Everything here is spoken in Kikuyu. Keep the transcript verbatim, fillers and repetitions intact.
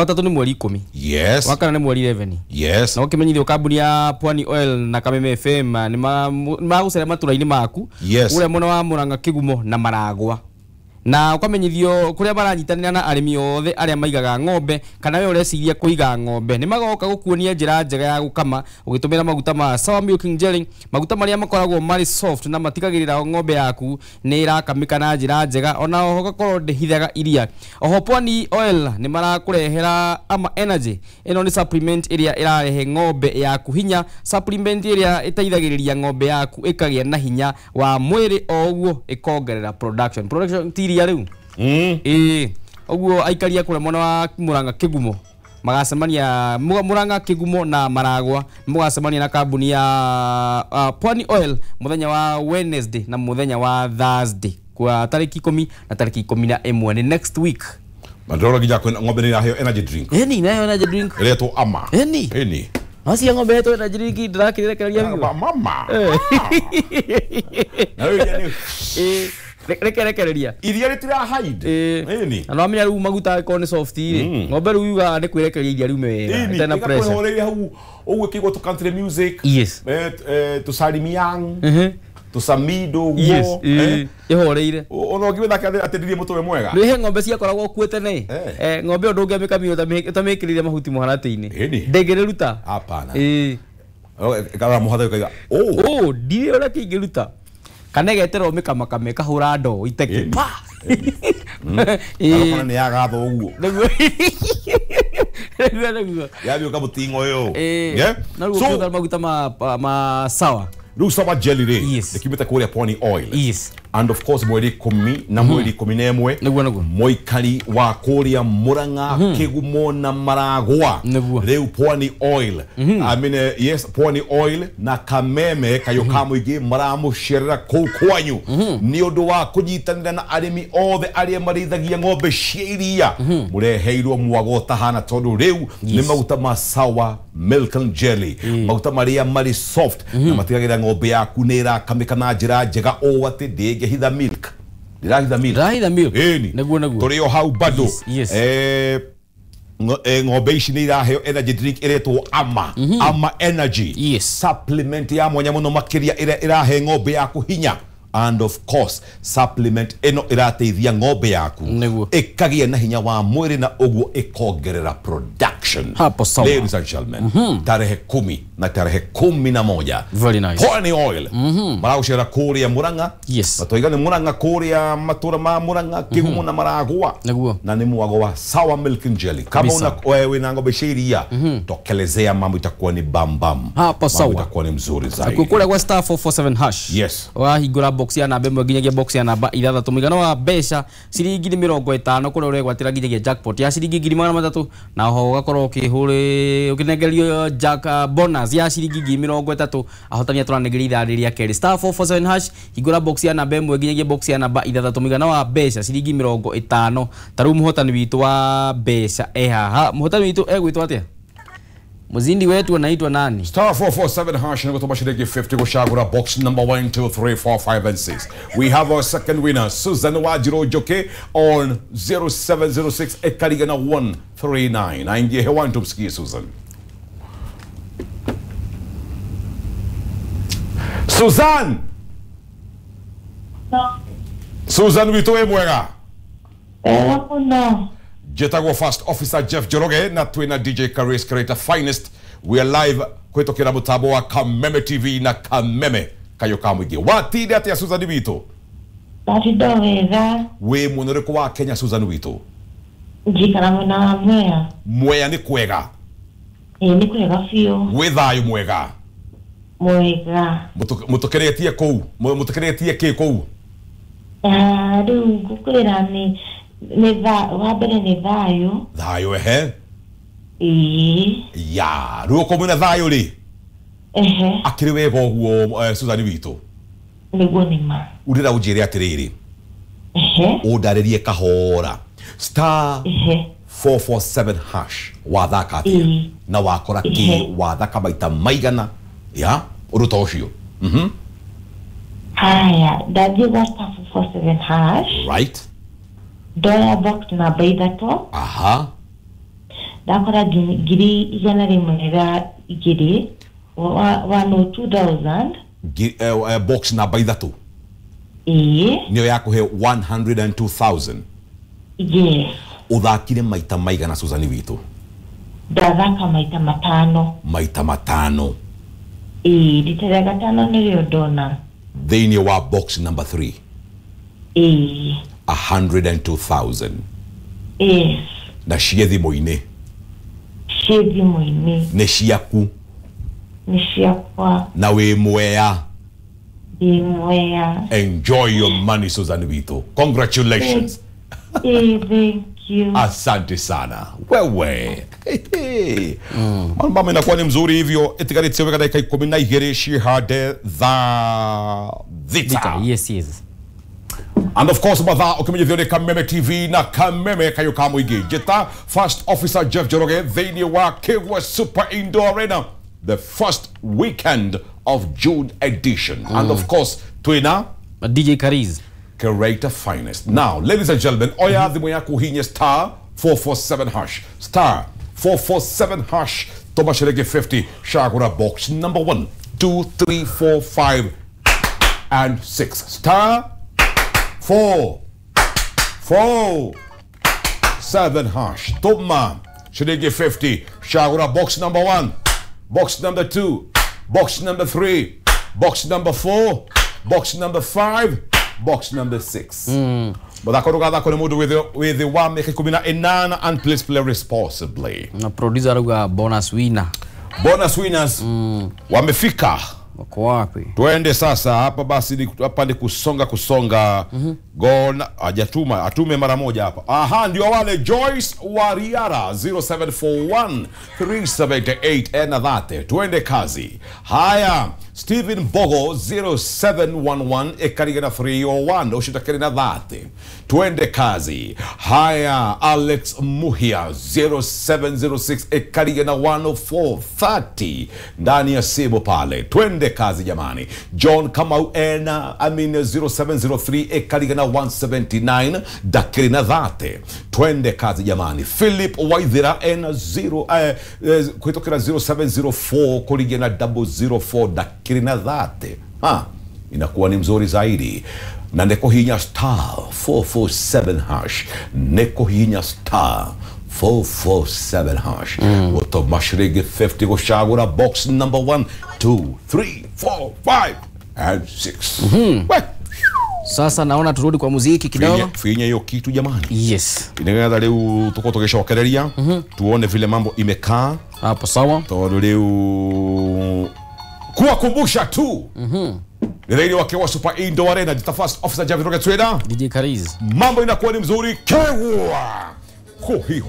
Watatũ nĩ mweri ikũmi. Yes. Wakana nĩ mweri eleven. Yes. Na ũkĩmenyithio kambuni ya Pwani Oil na Kameme F M nĩ magũcera matũra-inĩ maku. Yes. Ũrĩa mwena wa Murang'a, Kĩgumo na Maragwa. Na ukamenyithio kuria maranyitanira na arimi othe aria maigaga ng'ombe kana we ureciria kuiga ng'ombe ni magoka gukuonia njira njega ya gukama ugitumira maguta ma Sour Milking Jelly, maguta maria makoragwo mari soft na matigagirira ng'ombe yaku ni irakamika na njira njega ona oho gakorwo ndihithaga iria. Oho Pwani Oil ni marakurehera Ama Energy, ino ni supplement iria irarehe ng'ombe yaku hinya, supplement iria iteithagiriria ng'ombe yaku ikagia na hinya wa mwiri o uguo ikongerera production production ti iria riu. Mm. Ĩĩ ũguo aikaria kũrĩa mwena wa Murang'a Kĩgumo magacemania Murang'a Kĩgumo na Maragwa mũgacemania na kambuni ya uh, Pwani Oil mũthenya wa Wednesday na mũthenya wa Thursday kwa tariki ikũmi na tariki ikũmi na ĩmwe ni next week. Mandoro nginya kwĩna ng'ombe nĩ iraheo energy drink. Ĩni nayo energy drink ĩretwo Ama. Ĩni ĩni Acia ng'ombe yetu energy drink ndĩrakĩrekereria biũ. Mama. Na rĩu ĩ reke rekereria iria rĩtira hide. Ĩni na no amenya rĩu maguta angĩkorwo nĩ soft rĩ ng'ombe rĩu yugaga nĩ kwĩrekereria iria riume wega ĩtarĩ na pressure. Ĩni hau ũguo ĩkĩigua tũ country music. Yes. Eh tũsalimiang tũsamido ũguo ĩhoreire ona ũngĩmĩthaka atĩ ndirie mũtwe mwega. Nĩ he ng'ombe ciakoragwo kuo tene ng'ombe ĩyo ndũngĩamĩkamire ũtamĩkĩrĩire mahuti mũharatĩ-inĩ ndĩngĩrĩruta. Hapana. Ĩĩ ĩkarora mũharatĩ ĩkauga ũ ndirĩ ũrĩa kĩingĩruta kana ĩgeterwo mĩkamakame ĩkahũra ndoo iteke pa. Ĩĩ nĩ yagatho ũguo nĩguo nĩguo nĩguo yathiĩ ũkamũting'o ũyũ. Na rĩu ũkĩhũthĩra maguta ma ma sawa rĩu Sour Jelly rĩ nĩkiumĩte kũrĩa Pwani Oil. Yes. And of course mweri ikũmi na mweri ikũmi na ĩmwe nĩguo nĩguo mũikari wa kũrĩa Murang'a Kĩgumo na Maragwa rĩu Pwani Oil I mean yes Pwani Oil na Kameme kayo ka mũingĩ maramũcerera kũu kwanyu nĩ ũndũ wa kũnyitanĩra na arĩmi othe arĩa marĩithagia ng'ombe cia iria mũreheirwo mwago ũtahana tondũ rĩu nĩ maguta ma Sour Milk and Jelly, maguta marĩa marĩ soft na matigagĩrĩra ng'ombe yaku nĩ ĩrakamĩka na njĩra njega ũũ atĩ ndĩngĩhitha milk. Ndĩrahitha milk. Ndĩrahitha milk. Ĩni. Nĩguo nĩguo. Tũrĩ o hau bado. Yes. Eh ng'ombe ici nĩ iraheo energy drink ĩretwo Ama. Ama Energy. Yes. Supplement ya mwanya mũno makĩria ĩrĩa ĩrahe ng'ombe yaku hinya. And of course supplement ĩno ĩrateithia ng'ombe yaku ĩkagĩa na hinya wa mwĩrĩ na ũguo ĩkongerera production. Hapo sawa. Ladies and gentlemen, tarehe kumi na tarehe kumi na moja. Very nice. Pwani Oil maragũcera kũrĩa Murang'a. Yes. Na tũiga nĩ Murang'a kũrĩa matũra ma Murang'a Kĩgumo na Maragwa. Nĩguo. Na nĩ mwago wa Sour Milk and Jelly. Kama una wewe wĩna ng'ombe cia iria tokelezea, mambo itakuwa ni bam bam. Hapo sawa. Mambo itakuwa ni mzuri zaidi. Kũrĩa gwa star four four seven hash. Yes. Wahingũra box ya namba ĩmwe nginyagia box ya namba ithathatũ mũigana wa mbeca ciringi nĩ mĩrongo ĩtano kũrĩa ũregwatĩra nginyagia jackpot ya ciringi ngiri magana matatũ na oho ũgakorwo ũkĩhũrĩ ũkĩnengerio jack bonus ya ciringi ngiri mĩrongo ĩtatũ ahotani atũranengeria ithaa rĩrĩa kerĩ. Star four four seven hash hingũra box ya namba ĩmwe nginyagia box ya namba ithathatũ mũigana wa mbeca ciringi mĩrongo ĩtano. Ta rĩu mũhotani witũ wa mbeca e haha. Mũhotani witũ egwĩtwo atĩa? Muzindi wetu anaitwa nani? Star four four seven hash na kutoka shilingi fifty kushagura box number one, two, three, four, five and six. We have our second winner Susan Wajiro Joke on zero seven zero six ekarigana one three nine. Aingie hewani tumsikie Susan. Susan. No. Susan witũ wĩ mwega? Wega mũno. Jetagwo First Officer Jeff Njoroge na twina D J Karis Creator Finest. We are live kwitokera mutambo wa Kameme T V na Kameme kayo ka mũingĩ. Watinda atĩa Susan witũ? Ndatinda wega. Wĩ mwena ũrĩkũ wa Kenya Susan witũ? Njikara mwena wa Mwea. Mwea nĩ kwega? Ĩĩ nĩ kwega biũ. Wĩ thayũ mwega? Mwega. Mũtũkeretie kũu? Mũtũkeretie kĩ kũu? Rĩu ngũkwĩra nĩ nĩ tha wa mbere nĩ thayũ. Thayũ ehe. Ĩĩ. Ya, rĩu okorwo mwĩna thayũ rĩ? Ehe. Akĩrĩ wega ũguo Susan witũ? Nĩguo nĩ ma. Ũndĩra ũnjĩre atĩrĩrĩ. Ehe. Ũndarĩrie kahora. Star Ehe. four four seven hash wathaka atĩa? Na wakora kĩ wathaka maita maigana? Ya, ũndũ ta ũcio. Mhm. Haya, ndathiĩ gwa star four four seven hash. Right. Ndoya box namba ithatũ. Aha. Ndakora ngiri igana rĩmwe rĩa igĩrĩ one oh two thousand. Box namba ithatũ. Ĩĩ. Nĩyo yakũhe one hundred and two thousand. Yes. Ũthakire maita maigana Susan witũ? Ndathaka maita matano. Maita matano. Ĩĩ, rita rĩa gatano nĩrĩo ndona. Thĩinĩ wa box number three. Ĩĩ. A hundred and two thousand. Yes. Na ciĩ thimũ-inĩ. Ciĩ thimũ-inĩ. Nĩ ciaku. Nĩ ciakwa. Na wĩ mwea. Ndĩ mwea. Enjoy your money Susan witũ. Congratulations. Eh, thank you. Asante sana. Wewe. Mm. Mambo inakuwa ni mzuri hivyo. Itigarĩtie wega dakika ikũmi na igĩrĩ cihande thaa thita. Yes, yes. And of course mathaa ũkĩmenyithio nĩ Kameme T V na Kameme kayũ ka mũingĩ. Njĩta First Officer Jeff Njoroge thĩinĩ wa Kĩgwa Super Indoor Arena, the first weekend of June edition. Mm. And of course twina D J Kariz, Creator Finest. Now, ladies and gentlemen, oya thimũ yaku hinya star four four seven hash. Star four four seven hash. Toma shilingi fifty. Shagura box number one, two, three, four, five, and six. Star four, four, seven hash. Toma shilingi fifty. Shagura box number one, box number two, box number three, box number four, box number five, box number six. Mm. Muthako ndũgathakwo nĩ mũndũ wĩ thĩ wa mĩaka ikũmi na ĩnana, and please play responsibly. Na producer arauga bonus winner. Bonus winners. Mm. Wamefika. Wako wapi? Tuende sasa hapa basi ni, hapa ni kusonga kusonga. Mm -hmm. Gona hajatuma, atume mara moja hapa. Aha, ndio wale Joyce Wariara zero seven four one three seven eight ena dhate. Tuende kazi. Haya, Stephen Bogo zero seven one one ekarigana three oh one ushitakiri na dhate. Tuende kazi. Haya, Alex Muhia zero seven zero six ekarigana one oh four thirty ndani ya simu pale. Tuende kazi jamani. John Kamau ena I mean zero seven zero three ekarigana one seventy-nine dakiri na dhate. Twende kazi jamani. Philip Waithira ena zero eh, eh, kuitokera zero seven zero four kurigana double zero four dakiri na dhate. Ha, inakuwa ni mzuri zaidi. Na neko hinya star four four seven hash. Neko hinya star four four seven hash. Mm. Woto mashirigi fifty goshagura box number one, two, three, four, five and six. Mm-hmm. We. Sasa naona turudi kwa muziki kidogo. Finya hiyo kitu jamani. Yes. Inaweza leo tuko tukishokereria, mm -hmm. Tuone vile mambo imekaa. Hapo sawa. Todo leo kuwakumbusha tu. Mhm. Mm Ni wakiwa Super Indoor Arena, the First Officer Javi Rocket Trader. D J Kariz. Mambo inakuwa ni mzuri. Kewa. Kuhi.